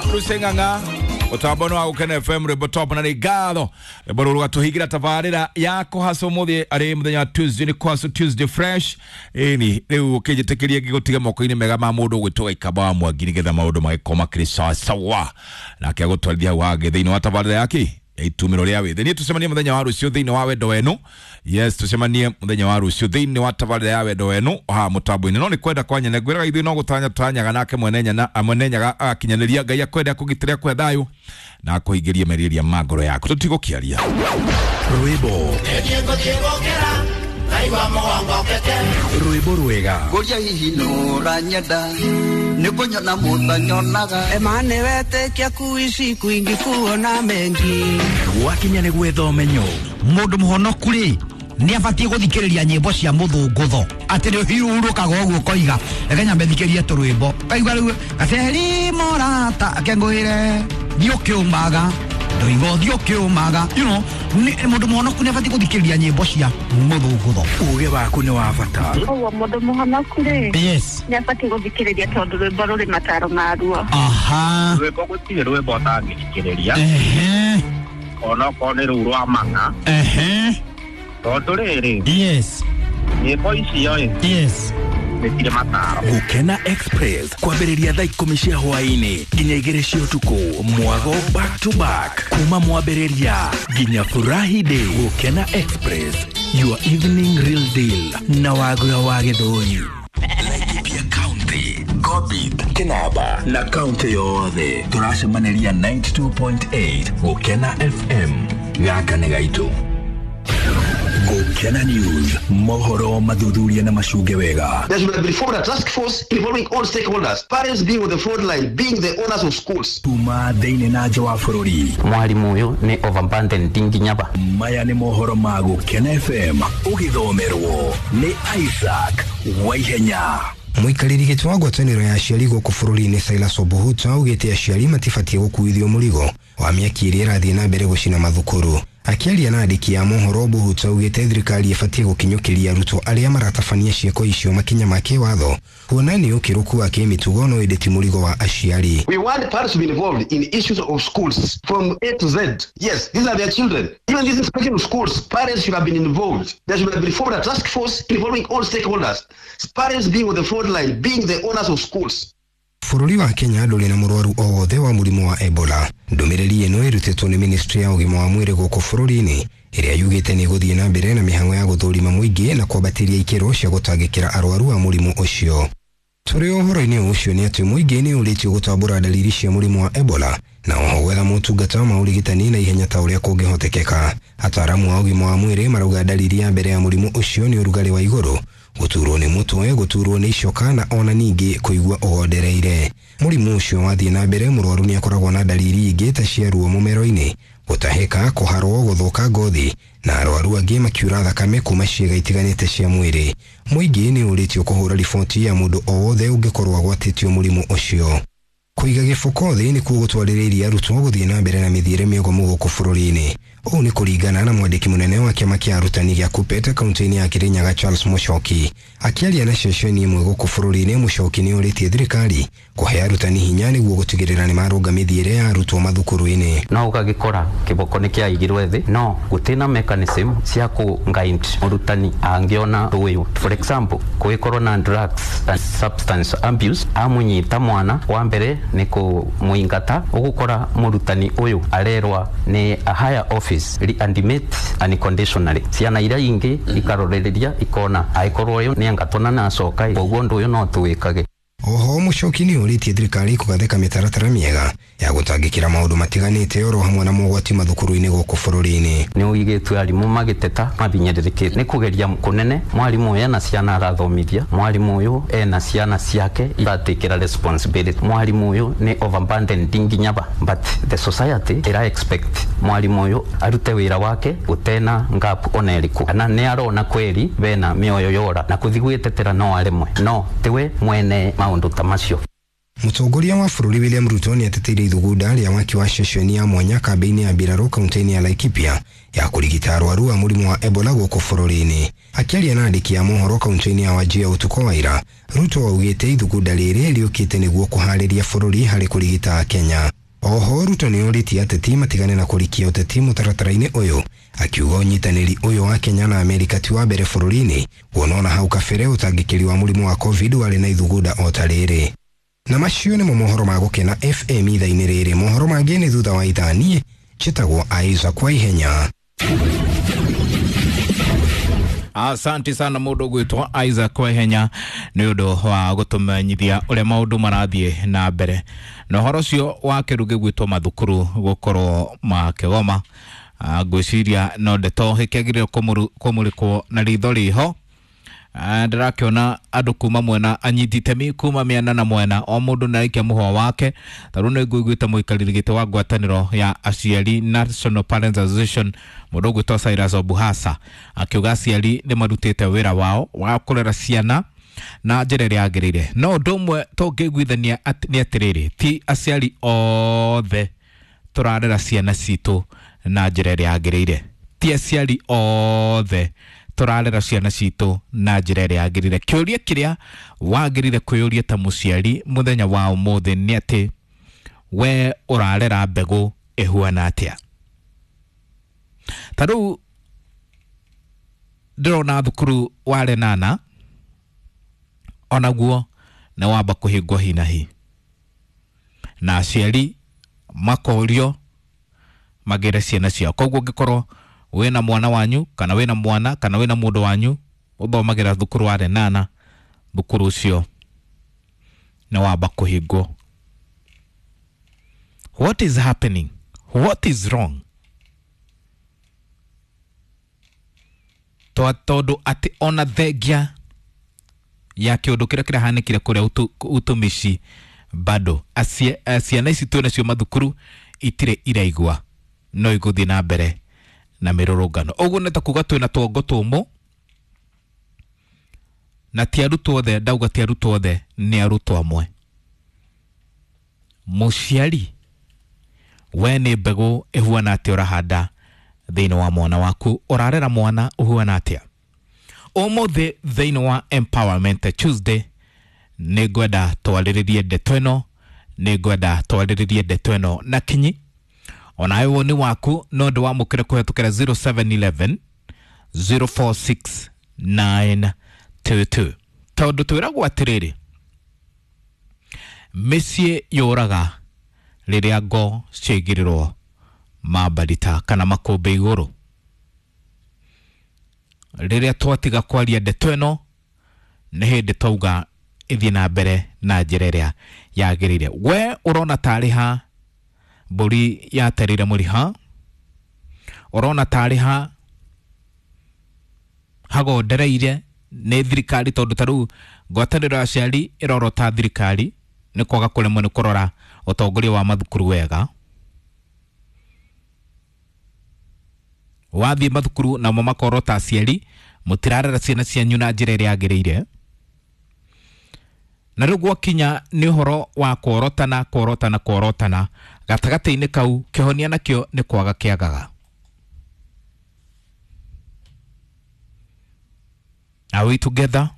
Muno Ruseng'ang'a utambo wa Gukena FM rwimbo top na nĩ ngatho rwimbo rũrũ rũgatũhingĩra tabarĩra ya kũhaca ũmũthĩ arĩ mũthenya wa Tuesday nĩ kũhaca Tuesday fresh ĩni rĩu ũkĩnjĩtĩkĩria ngĩgũtiga moko-inĩ mega ma mũndũ ũgwĩtwo Gĩkamba wa Mwangi nĩgetha maũndũ magĩkorwo makĩrĩ sawa sawa nake agũtwarithia hau hangĩ thĩinĩ wa tabarĩra yake ya itumĩro rĩa wĩthĩ. Niĩ tũcemanie mũthenya wa rũciũ thĩinĩ wa wendo wenu. Yes, tũcemanie mũthenya wa rũciũ thĩinĩ wa tabarĩra ya wendo wenu haha mũtambo-inĩ. No nĩ kwenda kwa nyene ngwĩraga ithuĩ no gũtanya tũtanyaga nake mwene nyana mwene nyaga agakinyanĩria. Ngai akwenda akũgitĩre akũhe thayũ na akũhingĩrie merirĩria ma ngoro yaku. Tũtigũkĩaria Rwĩmbo rwĩmbo rwega. Ngũria hihi nũranyenda nĩ kũnyona mũtanyonaga. Emane wetĩkia kuishi kwingi kuona mengi. Gwakinya nĩ gwetha ũmenyo. Mũndũ mũhonoku rĩ nĩ abatiĩ gũthikĩrĩria nyĩmbo cia mũthũngũtho atĩ nĩ ũhurũkaga ũguo ũkoiga reke nyambe thikĩrie tũrwĩmbo kaigua rĩu gaceri morata akengũĩre thiĩ ũkĩũmaga ndoiga ũthiĩ ũkĩũmaga, you know, mũndũ mũhonoku nĩ abatiĩ gũthikĩrĩria nyĩmbo cia mũthũngũtho. Uge waku nĩ wa bata. Koguo mũndũ mũhonoku rĩ yes nĩ abatiĩ gũthikĩrĩria tondũ rwĩmbo rũrĩ mataro maruo. Aha. Rwĩmbo gũtirĩ rwĩmbo ũtangĩthikĩrĩria. Ehe. Onokorwo nĩ rũu rwa mang'a. Ehe. Tondũ rĩrĩ yes nyĩmbo icio ĩ yes nĩ cirĩ mataro. Gukena Express kwambĩrĩria thaa 10 cia hwaĩ-inĩ nginya 2 cia ũtukũ. Mwago back to back kuma mwambĩrĩria nginya Furahi Day. Gukena Express, your evening real deal na Wagura wa Gĩthũri. Laikipia County, Gobit, Kinaba na kaunti yothe tũracemanĩria 92.8 Gukena FM. Gaka nĩ gaitũ. Gukena News, mohoro mathuthuria na macunge wega. There should be formed a task force involving all stakeholders, parents being on the front line, being the owners of schools. Kuma thĩinĩ na nja wa bũrũri. Mwarimu ũyũ nĩ overburdened nginya ba. Maya nĩ mohoro ma Gukena FM ũgĩthomerwo nĩ Isaac Waihenya. Mũikarĩri gĩtĩ wa ngwatanĩro ya aciari gũkũ bũrũri-inĩ Silas Obuhuta augĩte aciari matibatiĩ gũkuithio mũrigo wa mĩaki ĩrĩa ĩrathiĩ na mbere gũcina mathukuru. Akĩaria na andĩki a mohoro, Obuhuta augĩte thirikari ĩbatiĩ gũkinyũkĩria arutwo arĩa maratabania ciĩko icio makinya ma kĩwatho kuona nĩ ũkĩrũku wa kĩmĩtugo no ĩndĩ ti mũrigo wa aciari. We want parents to be involved in issues of schools from A to Z. Yes, these are their children. Even this inspection of schools, parents should have been involved. There should have been formed a task force involving all stakeholders, parents being on the front line, being the owners of schools. Bũrũri wa Kenya ndũrĩ na mũrwaru o wothe wa mũrimũ wa Ebola. Ndũmĩrĩri ĩno ĩrutĩtwo nĩ ministry ya ũgima wa mwĩrĩ gũkũ bũrũri-inĩ ĩrĩa yugĩte nĩ ĩgũthiĩ na mbere na mĩhang'o ya gũthũrima mũingĩ na kwambatĩria ikĩro cia gũtangĩkĩra arwaru a mũrimũ ũcio. Tũrĩ ũhoro-inĩ ũcio nĩ atĩ mũingĩ nĩ ũrĩtio gũtambũra ndariri cia mũrimũ wa Ebola na oho gwetha motungata ma ũrigitani na ihenya ta ũrĩa kũngĩhotekeka. Ataaramu a ũgima wa mwĩrĩ marauga ndariri ya mbere ya mũrimũ ũcio nĩ ũrugarĩ wa igũrũ, gũturwo nĩ mũtwe, gũturwo nĩ icoka na ona ningĩ kũigua ũgondereire. Mũrimũ ũcio wathiĩ na mbere mũrwaru nĩ akoragwo na ndariri ingĩ ta cia ruo mũmero-inĩ, gũtahĩka, kũharwo, gũthũka ngothi na arwaru angĩ makiura thakame kuma ciĩga itiganĩte cia mwĩrĩ. Mũingĩ nĩ ũrĩtio kũhũra riboti ya mũndũ o wothe ũngĩkorwo agwatĩtio mũrimũ ũcio. Kũiga gĩboko thĩ nĩkuo gũtwarĩrĩirie arutwo gũthiĩ na mbere na mĩthiĩre mĩogomu gũkũ bũrũri-inĩ. Ũũ nĩ kũringana na mwandĩki mũnene wa kĩama kĩa arutani gĩa KUPPET kaunti-inĩ ya Kirinyaga Charles Mũchoki. Akĩaria na ceceni ĩmwe gũkũ bũrũri-inĩ, Mũchoki nĩ ũrĩtie thirikari kũhe arutani hinya nĩguo gũtigĩrĩra nĩ marũnga mĩthiĩre ya arutwo mathukuru-inĩ. No ũgagĩkora kĩboko nĩ kĩaigirwe thĩ no gũtirĩ mechanism cia kũ guide mũrutani angĩona ũyũ. For example, kũgĩkorwo na drugs and substance abuse, amũnyita mwana wa mbere nĩ kũmũingata, ũgũkora mũrutani ũyũ arerwa nĩ a higher office reanimate unconditionally. Ciana iria ingĩ ikarorereria ikona angĩkorwo ũyũ nĩ angatwo na nacoka, koguo ũndũ ũyũ no tũwĩkage. Oho Mũchoki nĩ ũrĩtie thirikari kũgathĩka mĩtaratara mĩega ya gũtangĩkĩra maũndũ matiganĩte oro hamwe na mogwati mathukuru-inĩ gũkũ bũrũri-inĩ. Nĩ ũigĩtue arimũ magĩteta mabinyĩrĩrĩkĩte nĩ kũgeria kũnene. Mwarimũ ũyũ ena ciana arathomithia, mwarimũ ũyũ ena ciana ciake iratikĩra responsibility, mwarimũ ũyũ nĩ overburdened nginya ba, but the society ĩra expect mwarimũ ũyũ arute wĩra wake ũtena gap ona ĩrĩkũ, kana nĩ arona kweri bena mĩoyo yora na kũthi gwĩtetera no aremwe, no tiwe mwene maũndũ ta macio. Mũtongoria wa bũrũri William Ruto nĩ ateteire ithugunda rĩa waki wa ceceni ya mwanya kambĩ-inĩ ya mbirarũ kaunti-inĩ ya Laikipia ya kũrigita arwaru a mũrimũ wa Ebola gũkũ bũrũri-inĩ. Akĩaria na andĩki a mohoro kaunti-inĩ ya Wajir ũtukũ wa ira, Ruto augĩte ithugunda rĩrĩ rĩũkĩte nĩguo kũharĩria bũrũri harĩ kũrigita Kenya. Oho Ruto nĩ orĩtie ateti matigane na kũrikia ũteti mũtaratara-inĩ ũyũ, akiuga ũnyitanĩri ũyũ wa Kenya na Amerika ti wa mbere bũrũri-inĩ, kuona ona hau kabere ũtangĩkĩri wa mũrimũ wa COVID warĩ na ithugunda o ta rĩrĩ. Na macio nĩmo mohoro ma Gũkena FM ithaa-inĩ rĩrĩ. Mohoro mangĩ nĩ thutha wa ithaa. Niĩ njĩtagwo Isaac kwa ihenya. Asante sana mundu gwitwo Isaac Kwehenya nĩ ũndũ wa gũtũmenyithia ũrĩa maũndũ marathiĩ na mbere na ũhoro ũcio wa kĩndũ gĩgwĩtwo mathukuru gũkorwo makĩgoma. Ngwĩciria no ndeto ĩkĩagĩrĩire kũmũrĩkwo na ritho rĩho. Ndĩrakĩona andũ kuma mwena anyiti itemi kuma mĩena na mwena o mũndũ nĩ araikia mũhwa wake. Tarĩu nĩ ngũiguĩte mũikarĩri gĩtĩ wa ngwatanĩro ya aciari National Parents Association mũndũ ũgwĩtwo Cyrus Obuhasa akiuga aciari nĩ marutĩte wĩra wao wa kũrera ciana na njĩra ĩrĩa yagĩrĩire. No ũndũ ũmwe tũngĩiguithania nĩ atĩrĩrĩ, ti aciari othe tũrarera ciana citũ na njĩra ĩrĩa yagĩrĩire. Ti aciari othe tũrarera ciana citũ na njĩra ĩrĩa yagĩrĩire. Kĩũria kĩrĩa wagĩrĩire kwĩyũria ta mũciari mũthenya wa ũmũthĩ nĩ atĩ we ũrarera mbegũ ĩhuana atĩa. Ta rĩu ndĩrona thukuru wa Lenana onaguo nĩ wamba kũhingwo hi na hi, na aciari makorio magĩre ciana ciao. Koguo ũngĩkorwo wĩna mwana wanyu kana wĩna mwana kana wĩna mũndũ wanyu ũthomagĩra thukuru wa Lenana, thukuru ũcio nĩ wamba kũhingwo. What is happening? What is wrong? Tondũ atĩ ona thengia ya kĩũndũ kĩrĩa kĩrahanĩkire kũrĩa utumishi bado ciana ici twĩ nacio mathukuru itirĩ iraigua no igũthiĩ na mbere na mĩrũrũngano. Ũguo nĩ ta kuga twĩna tuongo tũmũ na ti arutwo othe, ndauga ti arutwo othe, nĩ arutwo amwe. Mũciari we nĩ mbegũ ĩhuana atĩa ũrahanda thĩinĩ wa mwana waku? Ũrarera mwana ũhuana atĩa? Ũmũthĩ thĩinĩ wa Empowerment Tuesday nĩ ngwenda twarĩrĩrie ndeto ĩno, nĩ ngwenda twarĩrĩrie ndeto ĩno na kinyi. Onawe woni waku no ndĩwamũkĩre kũhetũkĩra 0711 046 922 tondũ twĩragwo atĩrĩrĩ, mĩciĩ yũraga rĩrĩa ngo ciaigĩrĩrwo mambarita kana makũmbĩ igũrũ. Rĩrĩa twatiga kwaria ndeto ĩno nĩ hĩndĩ twauga ĩthiĩ na mbere na njĩra ĩrĩa yagĩrĩire. We ũrona tarĩ ha mbũri yaterire mũriha? Ũrona tarĩ ha hagondereire nĩ thirikari? Tondũ ta rĩu ngwatanĩro ya aciari ĩrorota thirikari nĩ kwaga kũremwo nĩ kũrora ũtongoria wa mathukuru wega. Wathiĩ mathukuru namo makorota aciari mũtirarera ciana cianyu na njĩra ĩrĩa yagĩrĩire. Na rĩu gwakinya nĩ ũhoro wa kworotana kworotana kworotana, gatagatĩ-inĩ kau kĩhonia nakĩo nĩ kwaga kĩagaga. Are we together?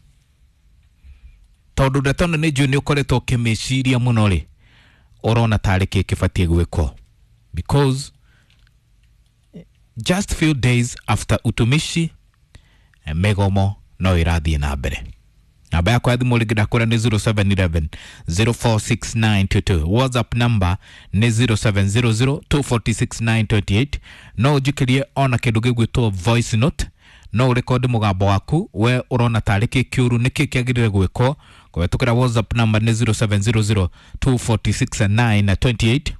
Tondũ ndeto ĩno nĩ njũĩ nĩ ũkoretwo ũkĩmĩciria mũno rĩ, ũrona tarĩ kĩ kĩbatiĩ gwĩkwo? Because just few days after utumishi mĩgomo no ĩrathiĩ na mbere. Namba yakwa ya thimũ rĩngĩ ndakwĩra nĩ 0711 046922. WhatsApp number nĩ 0700 246928. No ũnjikĩrie ona kĩndũ gĩgwĩtwo voice note, no ũrekodi mũgambo waku we ũrona tarĩ kĩ kĩũru, nĩkĩ kĩagĩrĩire gwĩkwo kũhetũkĩra WhatsApp number nĩ 0700 246928,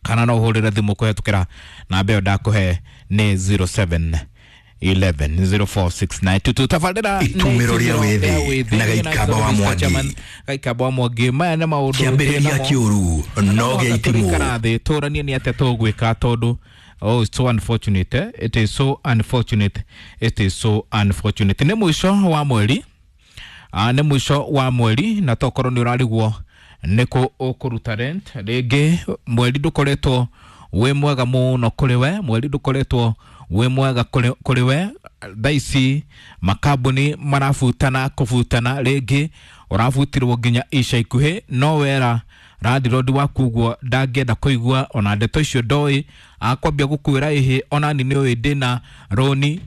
kana no ũhũrĩre thimũ kũhetũkĩra namba ĩyo ndakũhe nĩ 07 11 046922. Tabarĩra Itumĩro rĩa wĩthĩ na Gaikamba wa Mwangi. Gaikamba wa Mwangi, maya nĩ maũndũ Kĩambĩrĩria kĩũru no gĩa itimũ. Thĩ tũranie nĩ atĩa tũgwĩka tondũ oh, it's so unfortunate, eh? It is so unfortunate, it is so unfortunate. Nĩ mũico wa mweri, nĩ mũico wa mweri na tokorwo nĩ ũrarigwo Nĩkũ ũkũruta rent? Rĩngĩ mweri ndũkoretwo wĩ mwega mũno kũrĩ we, mweri ndũkoretwo wĩ mwega kũrĩ we. Thaa ici makambuni marabutana kũbutana, rĩngĩ ũrabutirwo nginya ica ikuhĩ, no wera landlord waku ũguo ndangĩenda kũigua ona ndeto icio ndoĩ, akwambia gũkwĩra ĩhĩ onani nĩ ũĩ ndĩna rũni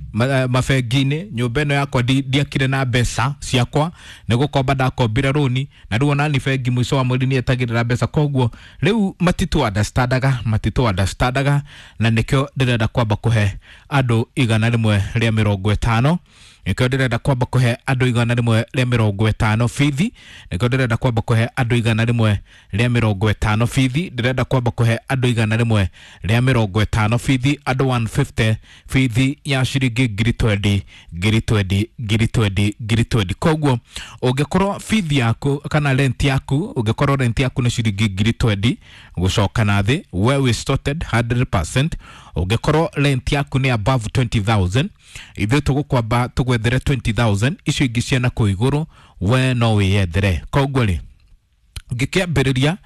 mabengi-inĩ, nyũmba ĩno yakwa ndiakire na mbeca ciakwa, nĩ gũkomba ndakombire rũni, na rĩu onani bengi mũico wa mweri nĩ etagĩrĩra mbeca, koguo rĩu matitũ understandaga, matitũ understandaga, na nĩkĩo ndĩrenda kwamba kũhe andũ 150, nĩkĩo ndĩrenda kwamba kũhe andũ 150 bithi, nĩkĩo ndĩrenda kwamba kũhe andũ 150 bithi, ndĩrenda kwamba kũhe andũ 150 bithi, andũ 150 bithi ya ciringi 20,000 20,000 20,000 20,000. Koguo ũngĩkorwo bithi yaku kana rent yaku, ũngĩkorwo rent yaku nĩ ciringi 20,000 gũcoka na thĩ, we wĩ sorted 100%. Ũngĩkorwo rent yaku nĩ above 20,000, ithuĩ tũgũkwamba tũgwethere 20,000, icio ingĩ ciana kũu igũrũ we no wĩyethere. Koguo rĩ, ngĩkĩambĩrĩria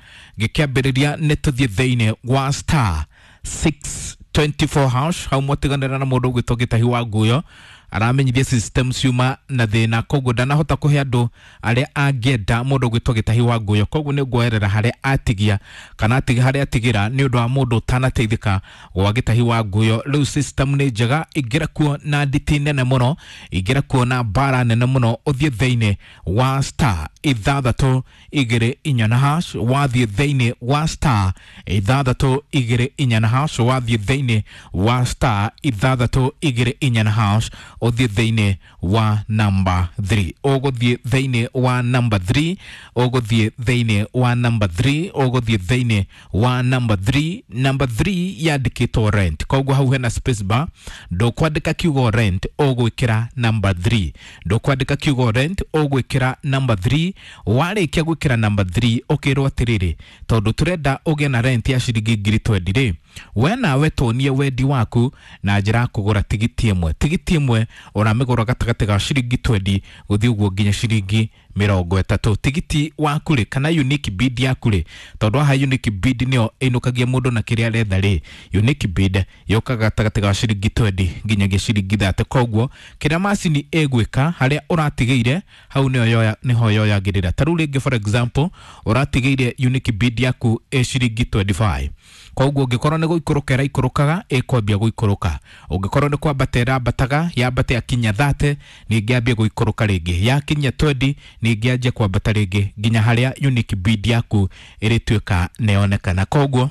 nĩ tũthiĩ thĩinĩ wa star 624 hash, hau mwatiganĩra na mũndũ ũgwĩtwo Gĩtahi wa Nguyo, aramenyithia system ciuma na thĩna, koguo ndanahota kũhe andũ arĩa angĩenda mũndũ ũgwĩtwo Gĩtahi wa Nguyo, koguo nĩ nguoerera harĩa atigia kana harĩa atigĩra nĩ ũndũ wa mũndũ ũtanateithĩka gwa Gĩtahi wa Nguyo. Rĩu system nĩ njega, ingĩra kuo na nditi nene mũno, ingĩra kuo na mbara nene mũno, ũthiĩ thĩinĩ wa star 624 na hash, wathiĩ thĩinĩ wa star 624 na hash, wathiĩ thĩinĩ wa star 624 na hash, ũthiĩ thĩinĩ wa number 3, ũgũthiĩ thĩinĩ wa number 3, ũgũthiĩ thĩinĩ wa number 3, ũgũthiĩ thĩinĩ wa number 3. Number 3 yandĩkĩtwo rent, koguo hau hena space bar, ndũkwandĩka kiugo rent, ũgwĩkĩra number 3, ndũkwandĩka kiugo rent, ũgwĩkĩra number 3. Warĩkia gwĩkĩra number 3 ũkĩrwo atĩrĩrĩ, tondũ tũrenda ũgĩe na rent ya ciringi 20,000 rĩ, we nawe tuonie wendi waku na njĩra ya kũgũra tigiti ĩmwe. Tigiti ĩmwe ũramĩgũra gatagatĩ ga ciringi 20 gũthiĩ ũguo nginya ciringi 30. Tigiti waku rĩ, kana unique bid yaku rĩ, tondũ haha unique bid nĩyo ĩinũkagia mũndũ na kĩrĩa aretha rĩ, unique bid yũkaga gatagatĩ ga ciringi 20 nginyagia ciringi 30. Koguo kĩrĩa macini ĩgwĩka harĩa ũratigĩire hau nĩho yoyagĩrĩra. Ta rĩu rĩngĩ for example ũratigĩire unique bid yaku ĩ ciringi 25, koguo ũngĩkorwo nĩ gũikũrũka ĩraikũrũkaga ĩkwambia gũikũrũka, ũngĩkorwo nĩ kwambata ĩrambataga yambate yakinya 30 ningĩ yambie gũikũrũka rĩngĩ, yakinya 20 ningĩ yanjie kwambata rĩngĩ nginya harĩa unique bid yaku ĩrĩtuĩka nĩyonekana. Koguo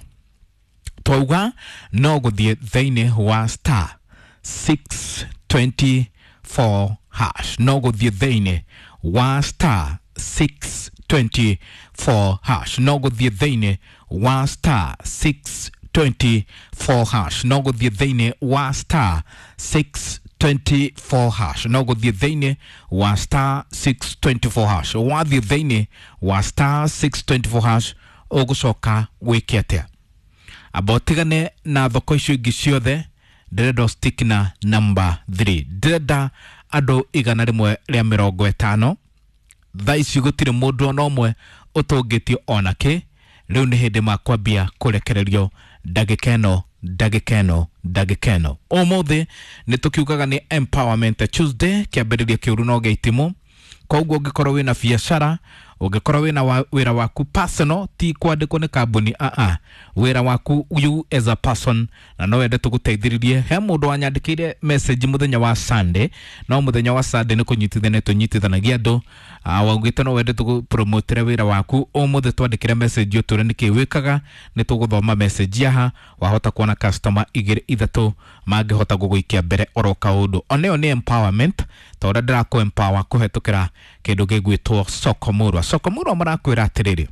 twauga no gũthiĩ thĩinĩ wa star 624 hash, no gũthiĩ thĩinĩ wa star 624 hash, no gũthiĩ thĩinĩ wa star 624 hash, no gũthiĩ thĩinĩ wa star 624 hash, no gũthiĩ thĩinĩ wa star 624 hash. Wathiĩ thĩinĩ wa star 624 hash ũgũcoka wĩke atĩa? Amba ũtigane na thoko icio ingĩ ciothe, ndĩrenda stick na number 3, ndĩrenda andũ 150. Thaa ici gũtirĩ mũndũ ona ũmwe ũtũngĩtio ona kĩ, rĩu nĩ hĩndĩ makwambia kũrekererio ndagĩka ĩno, ndagĩka ĩno, ndagĩka ĩno. Ũmũthĩ nĩ tũkiugaga nĩ empowerment Tuesday, kĩambĩrĩria kĩũru no gĩa itimũ. Koguo ũngĩkorwo wĩna biacara, ũngĩkorwo wĩna wĩra waku personal, ti kwandĩkwo nĩ kambuni, wĩra waku you as a person, na no wende tũgũteithĩrĩrie. He mũndũ wanyandĩkĩire message mũthenya wa Sunday, no mũthenya wa Sunday nĩ kũnyitithania tũnyitithanagia andũ, waugĩte no wende tũgũpromotere wĩra waku. Ũmũthĩ twandĩkĩre message ũtũre nĩkĩ wĩkaga, nĩ tũgũthoma message haha, wahota kuona customer 2 3 mangĩhota gũgũikia mbere oro kaũndũ. Ona ĩyo nĩ empowerment, ta ũrĩa ndĩrakũ empower kũhetũkĩra kĩndũ gĩgwĩtwo Soko Murwa. Soko Murwa marakwĩra atĩrĩrĩ,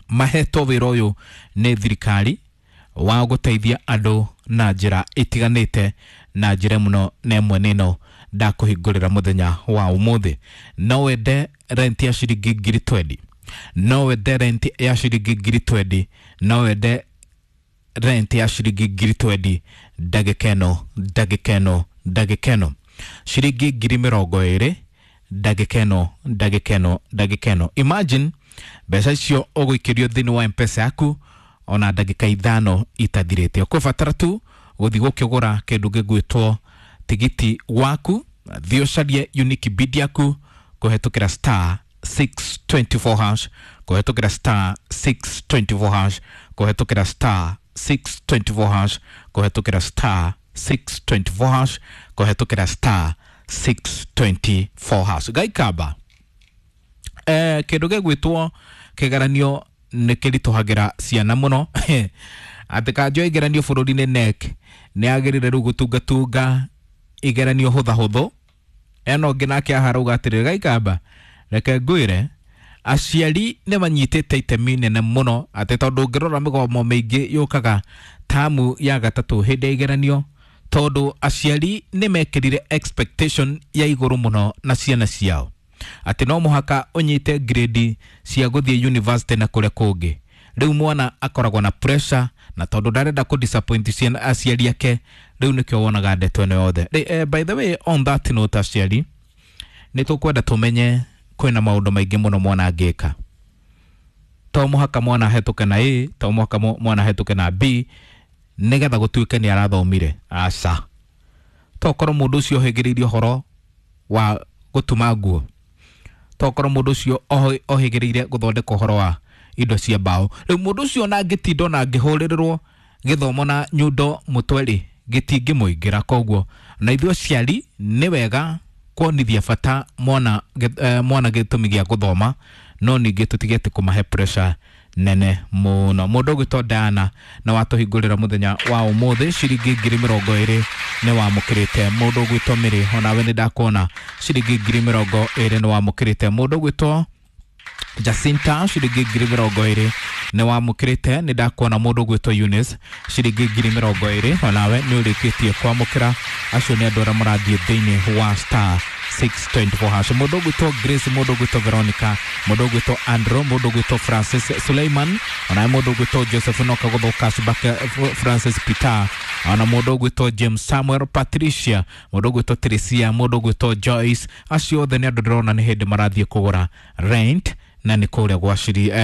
mahetwo wĩra ũyũ nĩ thirikari wa gũteithia andũ na njĩra ĩtiganĩte, na njĩra mũno na ĩmwe nĩ ĩno ndakũhingũrĩra mũthenya wa ũmũthĩ. No wende rent ya ciringi 20,000, no wende rent ya ciringi 20,000, no wende rent ya ciringi 20,000 ndagĩka ĩno, ndagĩka ĩno, ndagĩka ĩno, ciringi 20,000 ndagĩka ĩno, ndagĩka ĩno, ndagĩka ĩno. Imagine Mbeca icio ũgũikĩrio thĩinĩ wa Mpesa yaku ona ndagĩka 5 itathirĩte. Ũkũbatara tu gũthiĩ gũkĩgũra kĩndũ gĩgwĩtwo tigiti waku, thiĩ ũcarie unique bid yaku kũhetũkĩra star 624 hash, kũhetũkĩra star 624 hash, kũhetũkĩra star 624 hash, kũhetũkĩra star 624 hash, kũhetũkĩra star 624 hash. Gaikamba kĩndũ gĩgwĩtwo kĩgeranio nĩ kĩritũhagĩra ciana mũno. Atĩ kanjũ ya igeranio bũrũri-inĩ NEC nĩ yagĩrĩire rĩu gũtungatunga igeranio hũthahũthũ. Eno ũngĩ nake haha arauga atĩrĩrĩ, Gaikamba, reke ngwĩre aciari nĩ manyitĩte itemi nene mũno, atĩ tondũ ũngĩrora mĩgomo mĩingĩ yũkaga tamu ya gatatũ hĩndĩ ya igeranio, tondũ aciari nĩ mekĩrire expectation ya igũrũ mũno na ciana ciao, atĩ no mũhaka ũnyite grade cia gũthiĩ university na kũrĩa kũngĩ. Rĩu mwana akoragwo na pressure, na tondũ ndarenda kũ disappoint ciana aciari ake, rĩu nĩkĩo wonaga ndeto ĩno yothe. By the way, on that note, aciari nĩ tũkwenda tũmenye kwĩna maũndũ maingĩ mũno mwana angĩka. To mũhaka mwana ahetũke na A, to mũhaka mwana ahetũke na B nĩgetha gũtuĩke nĩ arathomire. Aca, tokorwo mũndũ ũcio ohĩgĩrĩirie ũhoro wa gũtuma nguo, tokorwo mũndũ ũcio ohĩgĩrĩire gũthondeka ũhoro wa indo cia mbaũ. Rĩu mũndũ ũcio ona angĩtinda ona angĩhũrĩrĩrwo gĩthomo na nyundo mũtwe rĩ, gĩtingĩmũingĩra. Koguo na ithuĩ aciari nĩ wega kuonithia bata mwana mwana gĩtũmi gĩa gũthoma, no ningĩ tũtige kũmahe pressure nene mũno. Mũndũ ũgwĩtwo Diana na watũhingũrĩra mũthenya wa ũmũthĩ ciringi 20,000 nĩ wamũkĩrĩte. Mũndũ ũgwĩtwo Mĩrĩ, onawe nĩ ndakuona ciringi 20,000 nĩ wamũkĩrĩte. Mũndũ ũgwĩtwo Jacinta ciringi 20,000 nĩ wamũkĩrĩte. Nĩ ndakuona mũndũ ũgwĩtwo Eunice ciringi 20,000 onawe nĩ ũrĩkĩtie kwamũkĩra. Acio nĩ andũ arĩa marathiĩ thĩinĩ wa star 624 hash. Mũndũ ũgwĩtwo Grace, mũndũ ũgwĩtwo Veronica, mũndũ ũgwĩtwo Andrew, mũndũ ũgwĩtwo Francis Suleiman, onawe mũndũ ũgwĩtwo Joseph Noka gũthũka Cibake Francis Peter, ona mũndũ ũgwĩtwo James Samuel Patricia, mũndũ ũgwĩtwo Teresia, mũndũ ũgwĩtwo Joyce. Acio othe nĩ andũ ndĩrona nĩ hĩndĩ marathiĩ kũgũra rent, na nĩ kũrĩa gwa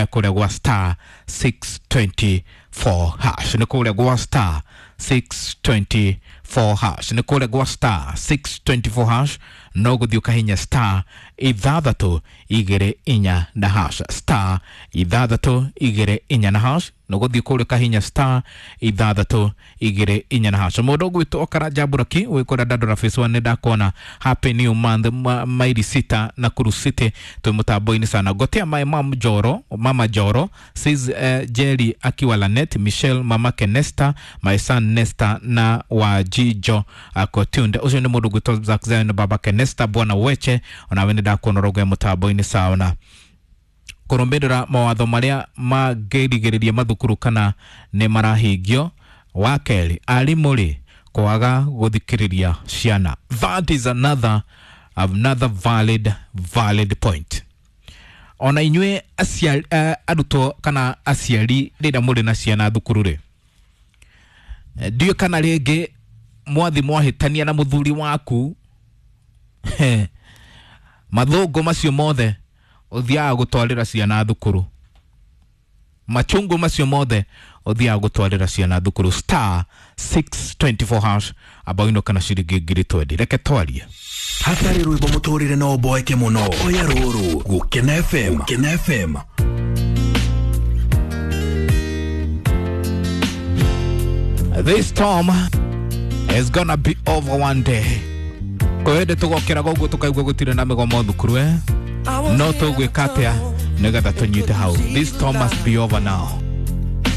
kũrĩa gwa star 624 hash, nĩ kũrĩa gwa star 624 hash, nĩ kũrĩa gwa star 624 hash. No gũthiĩ ũkahinya star 6 2 4 na hash, star 6 2 4 na hash, no gũthiĩ kũrĩa ũkahinya star 6 2 4 na hash. Mũndũ ũgwĩtwo Okaranja Buraki wĩ kũrĩa Dandora Phase 1 nĩ ndakuona. Happy new month maili 6 Nakuru City twĩ mũtambo-inĩ sana. Gotea my mom Joro, mama Joro says Jerry akiwa Lanet, Michelle mamake Nesta, my son Nesta na wa Jijo akotunde. Ũcio nĩ mũndũ ũgwĩtwo Zack Zion babake Nesta bwana Weche, onawe nĩ ndakuona ũrauga mũtambo-inĩ sawa. Kũrũmĩrĩra mawatho marĩa mangĩrigĩrĩria mathukuru kana nĩ marahingio. Wa kerĩ, arimũ rĩ kwaga gũthikĩrĩria ciana. That is another valid point. Ona inyuĩ aciari arutwo kana aciari rĩrĩa mũrĩ na ciana thukuru rĩ, ndiũĩ kana rĩngĩ mwathi mwahĩtania na mũthuri waku mathũngũ macio mothe ũthiaga gũtwarĩra ciana thukuru, machungu macio mothe ũthiaga gũtwarĩra ciana thukuru. Star 624 hash abaino kana ciringi 20,000. Reke twarie hatarĩ rwĩmbo mũtũrĩre no ũboeke mũno. Oya rũrũ Gũkena FM, Gũkena FM. This storm is gonna be over one day. Kwĩ hĩndĩ tũgokĩraga ũguo tũkaigua gũtirĩ na mĩgomo thukuru no tũgwĩka atĩa nĩgetha tũnyite hau. This storm must be over now.